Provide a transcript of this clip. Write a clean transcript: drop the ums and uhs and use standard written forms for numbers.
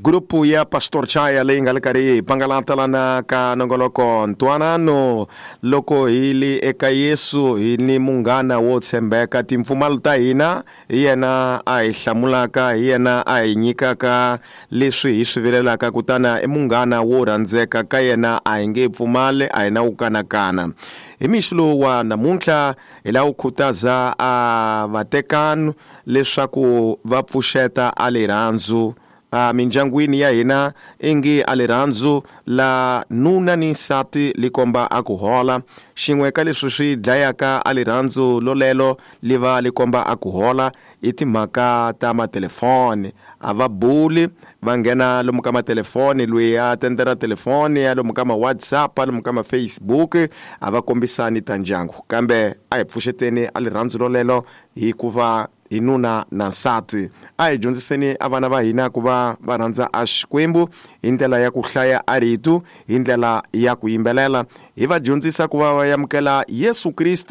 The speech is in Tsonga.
Grupu ya Pastor Chaya leyi nga le karhi hi pangalata lana ka nongoloko ntwanano. Loko hi li eka Yesu hi ni munghana wo tshembeka, timpfumalo ta hina hi yena a hi hlamulaka, hi yena a hi nyikaka leswi hi swi vilelaka, kutani i munghana wo rhandzeka ka yena a hi nge pfumali, a hi na ku kanakana. Hi mixo lowu wa namuntlha hi lava ku khutaza a vatekani leswaku va pfuxeta a rirhandzu a mindyangwini ya hina. Ingi a rirhandzu la nuna ni nsati li komba a ku hola. Xin'we ka leswi swi dlayaka a rirhandzu lolelo li va li komba a ku hola i timhaka ta matelefoni. A va buli, va nghena lomu ka matelefoni, loyi a tendera telefoni ya lomu ka ma-WhatsApp, lomu ka ma-Facebook, a va kombisani ta ndyangu. Kambe a hi pfuxeteni a rirhandzu lolelo hikuva hi nuna na nsati. A hi dyondziseni a vana va hina ku va va rhandza a Xikwembu hi ndlela ya ku hlaya a rito, hi ndlela ya ku yimbelela, hi va dyondzisa ku va va amukela Yesu Kriste.